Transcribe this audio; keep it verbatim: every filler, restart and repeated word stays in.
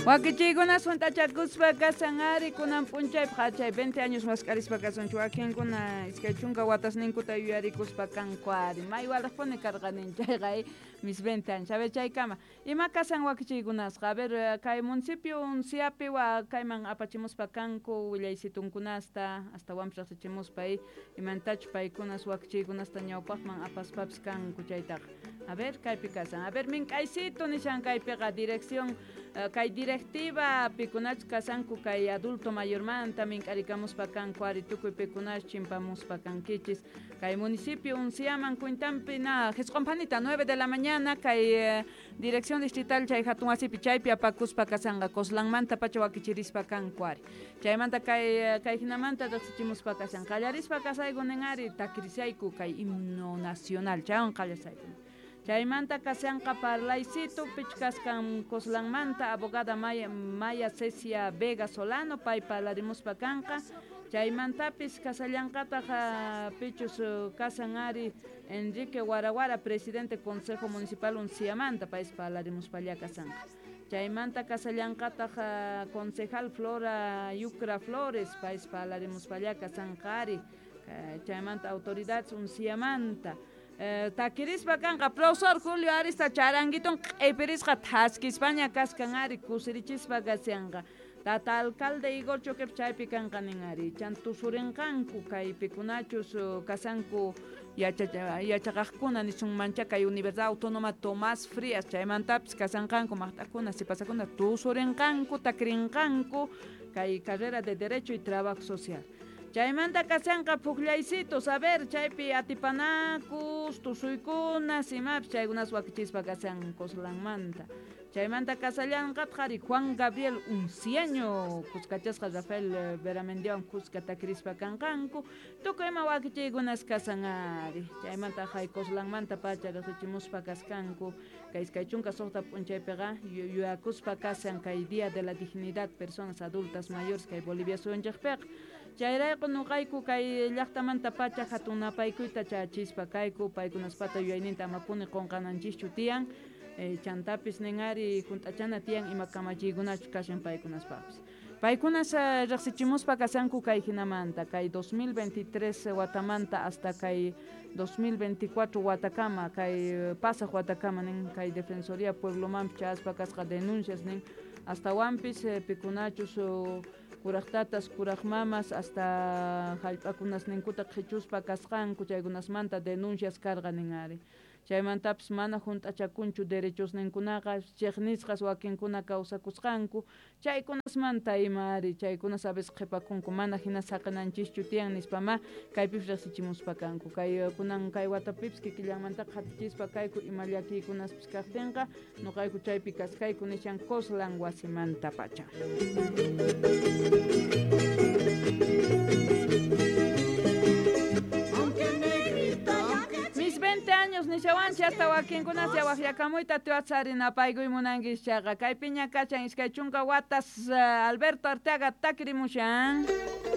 Wakichiykuna hunt'achakuspa kasan ari kunan p'unchaypaq chay veinte años mask'arispa kasunchik wakinkuna iskay chunka watasninkuta yuyarikuspa kanku ari may walaqpuni karqanin chayqa mis veinte años. A ver, chaykama ima kasan wakichiykunasqa? A ver, kay municipio Unciapi wa kayman apachimuspa kanku willaysitunkunasta astawanpis riqsichimuspa imantachus paykunas wakichiykunasta ñawpaqman apaspapis kanku chaytaqa. A ver, kaypi kasan. A ver, mink'aysito nishan kaypiqa dirección kay directiva pikunachus kasanku kay adulto mayormanta mink'arikamuspa kanku ari tukuy pikunash chimpamuspa kankichis kay municipio Unciaman cuentanpi na jisq'unphanita nueve de la mañana kay dirección distrital chay hatun wasipi chaypi apakuspa kasanqa Coslanmanta pacha wakichirispa kanku ari chaymanta kay kay hinamanta riqsichimuspa kasan qallarispa kasayku nin ari takirisayku kay himno nacional chaywan qallasayku. Chaymanta kasanqa parlaysito pichkaskan Coslanmanta abogada Maya, Maya Cecia Vega Solano pay parlarimuspa kanqa chaymantapis kasallanqataq pichus kasan ari Enrique Guaraguara presidente Consejo Municipal Unciamanta payis parlarimuspalla kasanqa chaymanta kasallanqataq concejal Flora Yucra Flores payis parlarimuspalla kasanqa ari chaymanta autoridades Unciamanta takirispa kanqa profesor Julio Arista charanguiton q'ipirisqa thaskispaña kaskan ari kusirichispa kasyanqa tata alcalde Igor Choquep chaypi kanqa nin ari chantusurinqanku kaypikunachus kasanku yachaqaqkuna nisunmancha kay Universidad Autónoma Tomás Frías chaymantapis kasanqanku maqt'akuna sipasakuna tusurinqanku takirinqanku kay carrera de Derecho y Trabajo Social. Chaymanta kasanqa puklaysitos, a ver, chaypi atipanakus, tusuykunas, imapis chaykunas wakichispa kasan Coslanmanta. Chaymanta kasallanqataq ari Juan Gabriel Unciaño, kuskachasqa Rafael Beramendiawan kuska takirispa kanqanku, tukuy ima wakichiykunas kasan ari. Chaymanta hay Coslanmanta pacha riqsichimuspa kaskanku, kay iskay chunka suqta p'unchaypiqa yuyakuspa kasan kay Día de la Dignidad Personas Adultas Mayores kay Bolivia suyunchikpiqa. Chayrayku nuqayku kay llaqtamanta pacha hatun napaykuyta chachispa kayku paykunaspata yuyayninta amapuni qunqananchischu tiyan chantapis nin ari hunt'achana tiyan ima kamachiykunachu kashan paykunaspapis. Paykunas riqsichimuspa kasanku kay hinamanta kay dos mil veintitrés watamanta hasta kay dos mil veinticuatro watakama kay pasaq watakama nin kay Defensoría Pueblomanpi chaspa kasqa denuncias nin astawanpis pikunachus kuraqtatas kuraqmamas hasta hallp'akunas ninkuta qhichuspa kasqanku chaykunasmanta denuncias karqa nin ari. Chaymantapis mana hunt'achakunchu derechos ninkunaqa chiqnisqas wakinkuna kawsakusqanku chaykunasmanta ima ari chaykunas a veces qhipakunku mana hina saqinanchischu tiyan nispama kaypipis riqsichimuspa kanku kay kunan kay watapipis kikillanmantaqa qatichispa kayku ima llakiykunaspis kaqtinqa nuqayku chaypi kaskayku nishan Coslan wasimanta pacha. veinte años nishawanchik hasta wakinkunas waqyakamuyta tiwatsarinapaykuy munankis chayqa kay piña kachan iskay chunka watas Alberto Arteaga takirimushan.